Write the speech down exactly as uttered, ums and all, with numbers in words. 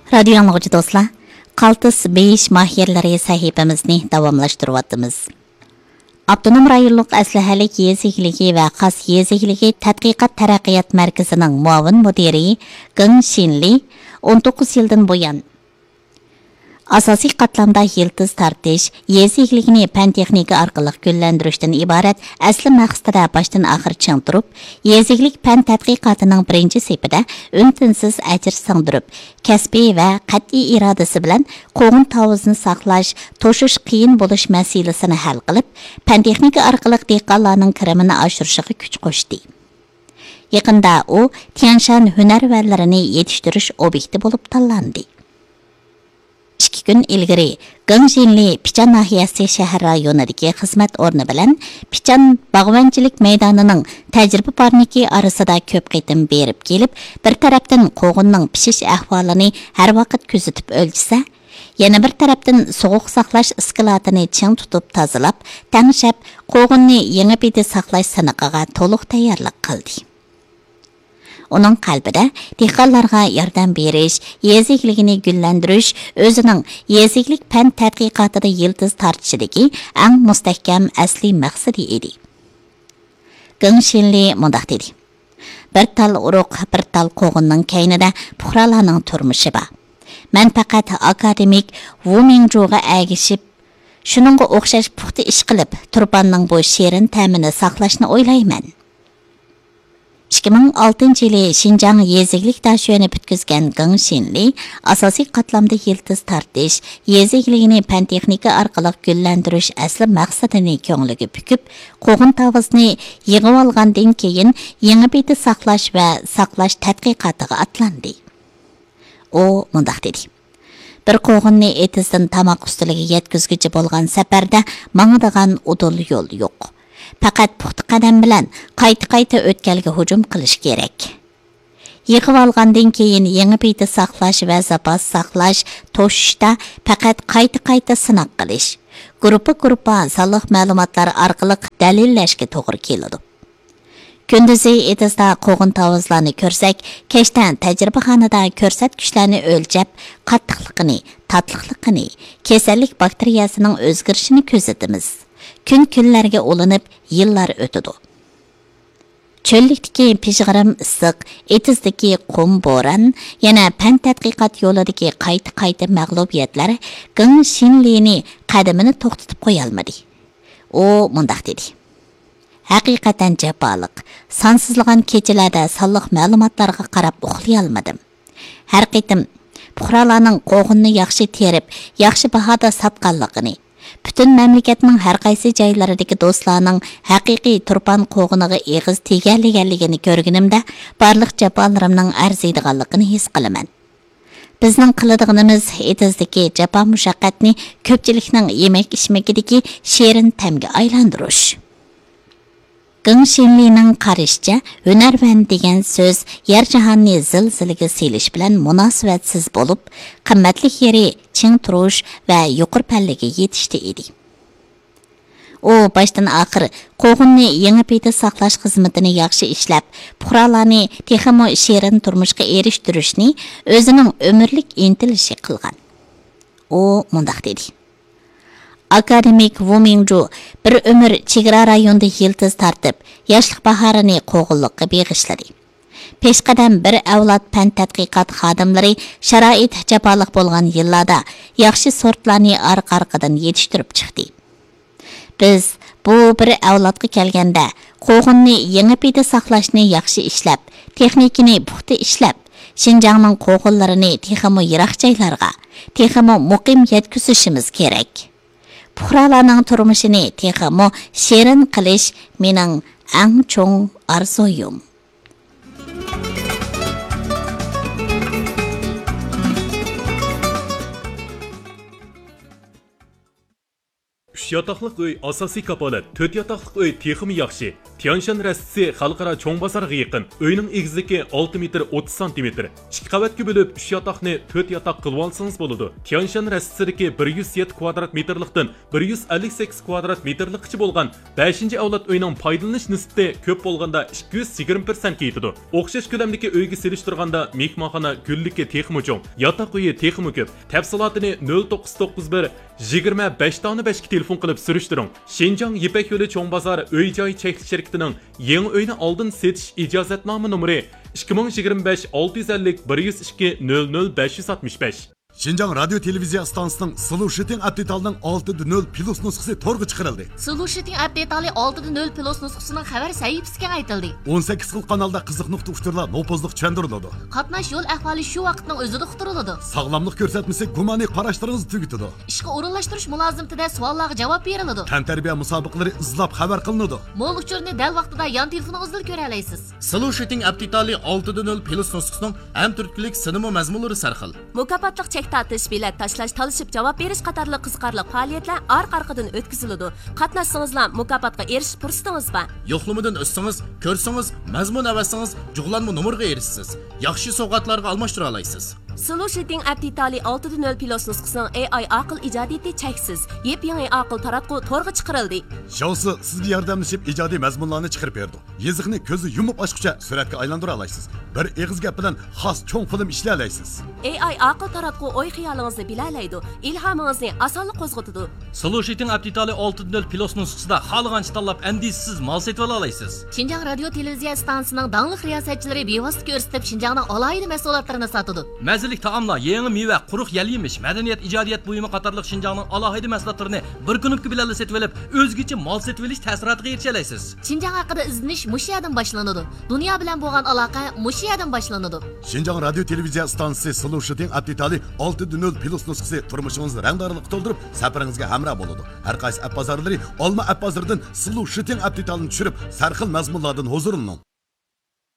رادىيو ئاڭلىغۇچى دوستلار، قالتىس بېيىش ماھىرلىرى سەھىپىمىزنى داۋاملاشتۇرۇۋاتىمىز. ئاپتونوم رايونلۇق ئەسلىھەلىك يېزا ئىگىلىكى ۋە خاس يېزا ئىگىلىكى تەتقىقات تەرەققىيات مەركىزىنىڭ مۇئاۋىن مۇدىرى گېڭ شىنلى ئون توققۇز يىلدىن بۇيان، ئاساسىي قاتلامدا يىلتىز تارتىش، يېزا ئىگىلىكىنى پەن تېخنىكا ئارقىلىق گۈللەندۈرۈشتىن ئىبارەت ئەسلى مەقسىتىدە باشتىن ئاخىر چىڭ تۇرۇپ، يېزا ئىگىلىك پەن تەتقىقاتىنىڭ بىرىنچى سېپىدە ئۈن-تىنسىز ئەجىر سىڭدۈرۈپ، كەسپىي ۋە قەتئىي ئىرادىسى بىلەن قوغۇن تاۋۇزىنى ساقلاش، توشۇش قىيىن بولۇش مەسىلىسىنى ھەل قىلىپ، پەن تېخنىكا ئارقىلىق دېھقانلارنىڭ كىرىمىنى ئاشۇرۇشىغا كۈچ قوشتى. يېقىندا ئۇ تيەنشان ھۈنەرۋەنلىرىنى يېتىشتۈرۈش ئوبيېكتى بولۇپ تاللاندى. ئىككى كۈن ئىلگىرى، گېڭ شىنلى پىچان ناھىيەسى شەھەر رايونىدىكى خىزمەت ئورنى بىلەن پىچان باغۋەنچىلىك مەيدانىنىڭ تەجرىبە پارنىكى ئارىسىدا كۆپ قېتىم بېرىپ كېلىپ، بىر تەرەپتىن قوغۇننىڭ پىشىش ئەھۋالىنى ھەر ۋاقىت كۆزىتىپ ئۆلچىسە، يەنە بىر تەرەپتىن سوغۇق ساقلاش ئىسكىلاتىنى چىڭ تۇتۇپ تازىلاپ، تەڭشەپ، قوغۇننى يېڭى بىدە ساقلاش سىنىقىغا تولۇق تەييارلىق قىلدى. ئۇنىڭ قەلبىدە دېھقانلارغا ياردەم بېرىش، يېزا ئىگىلىكىنى گۈللەندۈرۈش ئۆزىنىڭ يېزا ئىگىلىك پەن تەتقىقاتىدا يىلتىز تارتىشىدىكى ئەڭ مۇستەھكەم ئەسلىي مەقسىتى ئىدى. گېڭ شىنلى مۇنداق دېدى: «بىر تال ئۇرۇق، بىر تال قوغۇننىڭ كەينىدە پۇقرالارنىڭ تۇرمۇشى بار. مەن پەقەت ئاكادېمىك ۋۇ مىڭجۇغا ئەگىشىپ، شۇنىڭغا ئوخشاش پۇختا ئىش قىلىپ، تۇرپاننىڭ بۇ شېرىن تەمىنى ساقلاشنى ئويلايمەن.» ئىككى مىڭ ئالتىنچى يىلى شىنجاڭ يېزا ئىگىلىك داشۆنى پۈتكۈزگەن گېڭ شىنلى ئاساسىي قاتلامدا يىلتىز تارتىش، يېزا ئىگىلىكىنى پەن تېخنىكا ئارقىلىق گۈللەندۈرۈش ئەسلى مەقسىتىنى كۆڭلىگە پۈكۈپ، قوغۇن تاۋۇزىنى يىغىۋالغاندىن كېيىن، يېڭى بىدە ساقلاش ۋە ساقلاش تەتقىقاتىغا ئاتلاندى. ئۇ مۇنداق دېدى: «بىر قوغۇننى ئېتىزدىن تاماق ئۈستىلىگە يەتكۈزگۈچە بولغان سەپەردە ماڭىدىغان ئۇدۇل يول يوق. پەقەت پۇختا قەدەم بىلەن قايتا-قايتا ئۆتكەلگە ھۇجۇم قىلىش كېرەك. يىغىۋالغاندىن كېيىن يېڭى بىدە ساقلاش ۋە زاپاس ساقلاش، توشۇشتا پەقەت قايتا-قايتا سىناق قىلىش، گۇرۇپپا-گۇرۇپپا سانلىق مەلۇماتلار ئارقىلىق دەلىللەشكە توغرا كېلىدۇ. كۈندۈزى ئېتىزدا قوغۇن تاۋۇزلارنى كۆرسەك، كەچتە تەجرىبىخانىدا كۆرسەتكۈچلەرنى ئۆلچەپ، قاتتىقلىقىنى، تاتلىقلىقىنى، كېسەللىك باكتېرىيەسىنىڭ ئۆزگىرىشىنى كۆزىتىمىز. كۈن كۈنلەرگە ئۇلىنىپ، يىللار ئۆتىدۇ. چۆللۈكتىكى پىژغىرىم ئىسسىق، ئېتىزدىكى قۇم بوران، يەنە پەن تەتقىقات يولىدىكى قايتا-قايتا مەغلۇبىيەتلەر گېڭ شىنلىنى قەدىمىنى توختىتىپ قويالمىدى.» ئۇ مۇنداق دېدى: «ھەقىقەتەن جاپالىق، سانسىزلىغان كېچىلەردە سانلىق مەلۇماتلارغا قاراپ ئۇخلىيالمىدىم. ھەر قېتىم پۇقرالارنىڭ قوغۇننى ياخشى تېرىپ، ياخشى باھادا ساتقانلىقىنى، پۈتۈن مەملىكەتنىڭ ھەر قايسى جايلىرىدىكى دوستلارنىڭ ھەقىقىي تۇرپان قوغۇنىغا ئېغىز تېگەلىگەنلىكىنى كۆرگىنىمدە، بارلىق جاپالىرىمنىڭ ئەرزىيدىغانلىقىنى ھېس قىلىمەن. بىزنىڭ قىلىدىغىنىمىز ئېتىزدىكى جاپا-مۇشەققەتنى كۆپچىلىكنىڭ يېمەك-ئىچمىكىدىكى شېرىن تەمگە ئايلاندۇرۇش.» گېڭ شىنلىنىڭ قارىشىچە، ھۈنەرۋەن دېگەن سۆز يەر-جاھاننى زىلزىلىگە سېلىش بىلەن مۇناسىۋەتسىز بولۇپ، قىممەتلىك يېرى چىڭ تۇرۇش ۋە يۇقىرى پەللىگە يېتىشتە ئىدى. ئۇ باشتىن-ئاخىر قوغۇننى يېڭى پىدە ساقلاش خىزمىتىنى ياخشى ئىشلەپ، پۇقرالارنى تېخىمۇ شېرىن تۇرمۇشقا ئېرىشتۈرۈشنى ئۆزىنىڭ ئۆمۈرلۈك ئىنتىلىشى قىلغان. ئۇ مۇنداق دېدى: «ئاكادېمىك ۋۇ مىڭجۇ بىر ئۆمۈر چېگرا رايوندا يىلتىز تارتىپ، ياشلىق باھارىنى قوغۇنلۇققا بېغىشلىدى. پېشقەدەم بىر ئەۋلاد پەن تەتقىقات خادىملىرى شارائىت جاپالىق بولغان يىللاردا ياخشى سورتلارنى ئارقا-ئارقىدىن يېتىشتۈرۈپ چىقتى. بىز بۇ بىر ئەۋلادقا كەلگەندە، قوغۇننى يېڭى پىدە ساقلاشنى ياخشى ئىشلەپ، تېخنىكىنى پۇختا ئىشلەپ، شىنجاڭنىڭ قوغۇنلىرىنى تېخىمۇ يىراق جايلارغا، تېخىمۇ مۇقىم يەتكۈزۈشىمىز كېرەك. پۇقرالارنىڭ تۇرمۇشىنى تېخىمۇ شېرىن قىلىش مېنىڭ ئەڭ چوڭ ئارزۇيۇم.» ئۈچ ئۈچ ياتاقلىق ئۆي ئاساسىي كاپالەت، تۆت ياتاقلىق ئۆي تېخىمۇ ياخشى. تيانشان رەستىسى خەلقئارا چوڭ بازار يېقىن. ئۆينىڭ ئېگىزلىكى ئالتە مېتىر ئوتتۇز سانتىمېتىر. ئىككى قەۋەتكە بۆلۈپ، ئۈچ ياتاقنى تۆت ياتاق قىلىۋالسىڭىز بولىدۇ. تيانشان رەستىسىدىكى بىر يۈز يەتتە كۋادرات مېتىرلىقتىن بىر يۈز ئەللىك سەككىز كۋادرات مېتىرلىققىچە بولغان بەشىنچى ئەۋلاد ئۆينىڭ پايدىلىنىش نىسبىتى كۆپ بولغاندا ئىككى يۈز يىگىرمە پىرسەنتكە يېتىدۇ. ئوخشاش كۆلەمدىكى ئۆيگە سېلىشتۇرغاندا مېھمانخانا گۈللۈكى تېخىمۇ چوڭ، ياتاق ئۆيى تېخىمۇ كۆپ. تەپسىلاتىنى نۆل توققۇز توققۇز بىر، يىگىرمە بەش دانە بەشكە تېلېفون قىلىپ سۈرۈشتۈرۈڭ. شىنجاڭ يىپەك يولى چوڭ بازار ئۆي جاي چەكلىك شىركىتىنىڭ يېڭى ئۆينى ئالدىن سېتىش ئىجازەتنامە نومۇرى ئىككى مىڭ يىگىرمە بەش ئالتە يۈز ئەللىك بىر يۈز ئىككى نۆل نۆل بەش يۈز ئاتمىش بەش. شىنجاڭ رادىيو تېلېۋىزىيە ئىستانسىسىنىڭ سلۇشىتىڭ ئەپ دېتالىنىڭ ئالتىدە نۆل پلۇس نۇسخىسى تورغا چىقىرىلدى. سلۇشىتىڭ ئەپ دېتالى ئالتىدە نۆل پلۇس نۇسخىسىنىڭ خەۋەر سەھىپىسى كېڭەيتىلدى. ئون سەككىز خىل قانالدا قىزىق نۇقتا ئۇچۇرلار نوپۇزلۇق چۈشەندۈرۈلىدۇ. قاتناش يول ئەھۋالى شۇ ۋاقىتنىڭ ئۆزىدە ئۇقتۇرۇلىدۇ. ساغلاملىق كۆرسەتمىسى گۇمانىي قاراشلىرىڭىزنى تۈگىتىدۇ. ئىشقا ئورۇنلاشتۇرۇش مۇلازىمىتىدە سوئاللارغا جاۋاب بېرىلىدۇ. تەنتەربىيە مۇسابىقىلىرى ئىزلاپ خەۋەر قىلىنىدۇ. مول ئۇچۇرنى دەل ۋاقتىدا يان تېلېفونىڭىزدىلا كۆرەلەيسىز. سلۇشىتىڭ ئەپ دېتالى ئالتىدە نۆل پلۇس نۇسخىسىنىڭ ھەم تۈرتكىلىك سىنىمۇ مەزمۇنلىرى سەرخىل. مۇكاپاتلىق چەك تارتىش، بېلەت تاشلاش، تالىشىپ جاۋاب بېرىش قاتارلىق قىزىقارلىق پائالىيەتلەر ئارقا-ئارقىدىن ئۆتكۈزۈلىدۇ. قاتناشسىڭىزلا مۇكاپاتقا ئېرىشىش پۇرسىتىڭىز بار. يوقلىمىدىن ئۆتسىڭىز، كۆرسىڭىز، مەزمۇن ئەۋەتسىڭىز، جۇغلانما نومۇرغا ئېرىشىسىز. ياخشى سوۋغاتلارغا ئالماشتۇرالايسىز. سلۇشىتىڭ ئەپ دېتالى ئالتىدە نۆل پلۇس نۇسخىسىنىڭ ئېي ئاي ئاقىل ئىجادىيىتى چەكسىز. يېپيېڭى ئاقىل تاراتقۇ تورغا چىقىرىلدى. شاۋسى سىزگە ياردەملىشىپ ئىجادىي مەزمۇنلارنى چىقىرىپ بېرىدۇ. يېزىقنى كۆزنى يۇمۇپ ئاچقۇچە سۈرەتكە ئايلاندۇرالايسىز. بىر ئېغىز گەپ بىلەن خاس چوڭ فىلىم ئىشلىيەلەيسىز. ئېي ئاي ئاقىل تاراتقۇ ئوي خىيالىڭىزنى بىلەلەيدۇ، ئىلھامىڭىزنى ئاسانلا قوزغىتىدۇ. سلۇشىتىڭ ئەپ دېتالى ئالتىدە نۆل پلۇس نۇسخىسىدا خالىغانچە تاللاپ ئەندىشىسىز مال سېتىۋالالايسىز. شىنجاڭ رادىيو تېلېۋىزىيە ئىستانسىسىنىڭ داڭلىق رىياسەتچىلىرى بىۋاسىتە كۆرسىتىپ شىنجاڭنىڭ ئالاھىدە مەھسۇلاتلىرىنى ساتىدۇ. مەززىلىك تائاملار، يېڭى مېۋە، قۇرۇق يەل يېمىش، مەدەنىيەت، ئىجادىيەت بۇيۇمى قاتارلىق شىنجاڭنىڭ ئالاھىدە مەھسۇلاتلىرىنى بىر كۇنۇپكا بىلەنلا سېتىۋېلىپ، ئۆزگىچە مال سېتىۋېلىش تەسىراتىغا ئېرىشەلەيسىز. شىنجاڭ ھەققىدە ئىزدىنىش مۇشۇ يەردىن باشلىنىدۇ. دۇنيا بىلەن بولغان ئالاقە مۇشۇ يەردىن باشلىنىدۇ. شىنجاڭ رادىيو تېلېۋىزىيە ئىستانسىسى سلۇشىتىڭ ئەپ دېتالى ئالتىدە نۆل پلۇس نۇسخىسى تۇرمۇشىڭىزنى رەڭدارلىققا تولدۇرۇپ، سەپىرىڭىزگە ھەمراھ بولىدۇ. ھەر قايسى ئەپ بازارلىرى ئالما ئەپ بازىرىدىن سلۇشىتىڭ ئەپ دېتالىنى چۈشۈرۈپ، سەرخىل مەزمۇنلاردىن ھۇزۇرلىنىڭ.